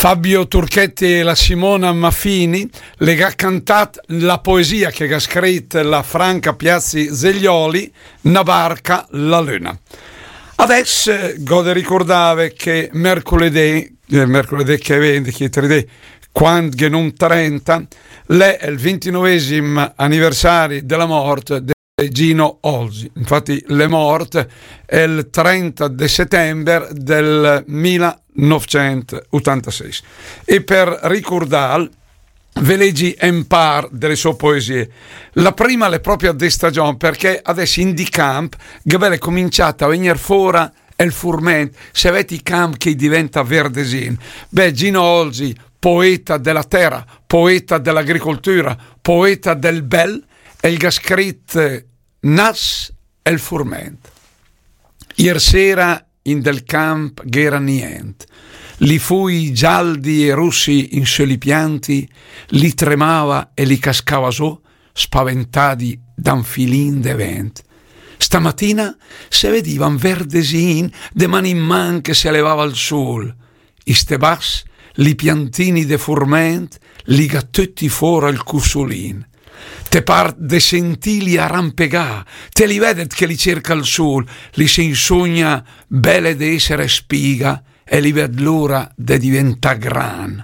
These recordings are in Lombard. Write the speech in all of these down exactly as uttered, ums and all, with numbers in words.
Fabio Turchetti e la Simona Maffini le ga cantàt la poesia che ga scrit la Franca Piazzi Zeglioli, Na barca la luna. Adess, eh, gh'ho de ricurdave che mercoledì, eh, mercoledì che vegn, chi tridì, quand ghe n'hom trenta, l'è el vintinovesim aniversari de la mort de Gino Olsi. Infatti, l'è mort el trenta de settember del millenovecentotantasei. E per ricurdàl, ve legi en par de le so poesie. La prima l'è propria de stagion, perché adess in di camp ghe vè cominciàt a vegner fora el furment, se vedi i camp che i diventa verdesin. Beh, Gino Olsi, poeta de la tera, poeta de l'agricoltura, poeta del bel, el ga scrit Nas el furment. Ier sera in del camp gh'era nient. Li fui gialdi e russi in sö li pianti li tremava e li cascava zo, spaventadi da un filin de vent. Stamatina se vediva un verdesin de man in man che se levava al sul. I stebàs, li piantini de furment, li ga töti fora el cusulin. Te par de sentili arampegà, te li vedet che li cerca el sul, li se insogna bele de esser spiga e li ved l'ora de diventà gran.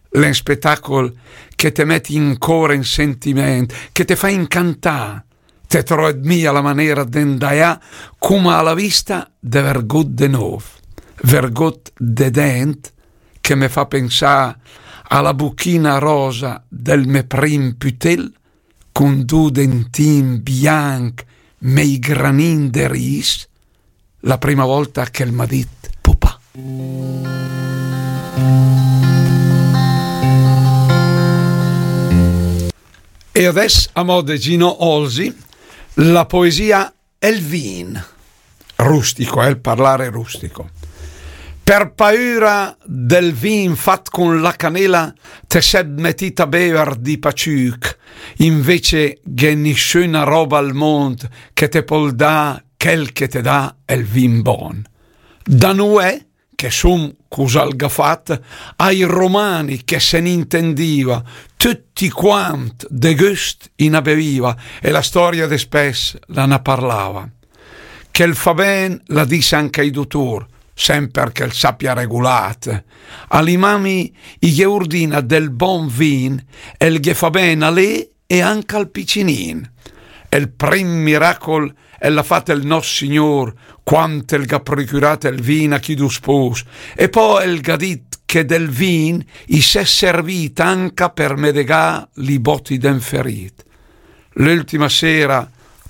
L'è un spetacol che te met in cor en sentiment, che te fa incantà. Te troet mia la manera de 'ndaià, coma a la vista de vergot de nov, vergot de dent, che me fa pensà a la buchina rosa del me prim putel, cun du dentin bianc mei granin de ris, la prima volta che el m'ha dit pupà. E adess, a mo de Gino Olsi, la poesia El vin. Rustico, eh, il parlare rustico. Per paura del vin fat con la canela, te sed metit a bever di paciuc, invece gh'è nissuna roba al mond che te pol dà quel che te dà el vin bon. Da nuè, che sum cus'al ga fat, ai romani che se n'intendiva, tutti quant de gust i na beviva, e la storia de spess la na parlava. Che el fa ben, la dis anca i dutur, semper che el sapia regulat. A li mami i ghe urdina del bon vin, el ghe fa ben a lé e anca al picinin. El prim miracol el l'ha fat el nos Signor, quant el ga procurat el vin a chi du spus, e po el ga dit che del vin i s'è servit anca per medegà li boti d'en ferit. L'ultima sera,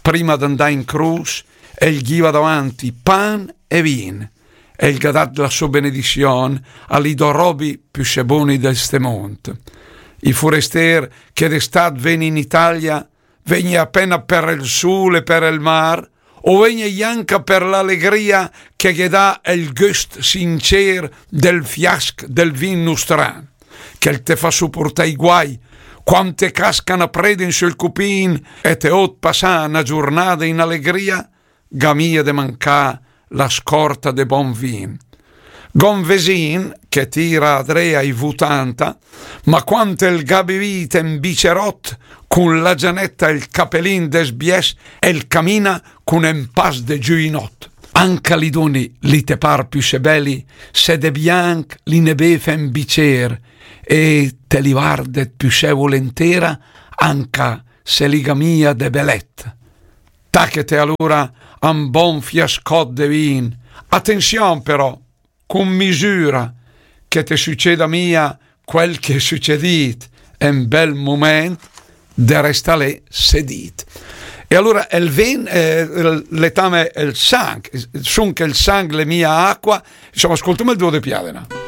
prima d'andà in crus, el ghiva davanti pan e vin, el ga dat la so benedizion a li do robi püssé boni de ste mond. I furester che d'estat ven in Italia, vegni apena per el sul e per el mar, o vegni anca per l'alegria che ghe dà el gust sincer del fiasc del vin nustran, che el te fa supurtà i guai, quant te casca na preda in sul cupin e te ot passà na giurnada in alegria, ga mia de mancà la scorta de bon vin. Gon vesin che tira adré ai vutanta, ma quant el ga bevit en bicerot, cun la gianeta e el capelin desbies, el camina cun en pas de giuinot. Anca li doni li te par püssé beli, se de bianc li ne bev en bicer, e te li vardet püssé volentera, anca se li ga mia de belet. Tachete alura a un bon fiascot de vin. Atenzion però, cun misura, che te succeda mia quel che è succedit en bel moment de restà lé sedit. E alura el vin, eh, l'è tame el sang, sun che el sang l'è mia acqua, insomma, ascoltem el duo de Piadena.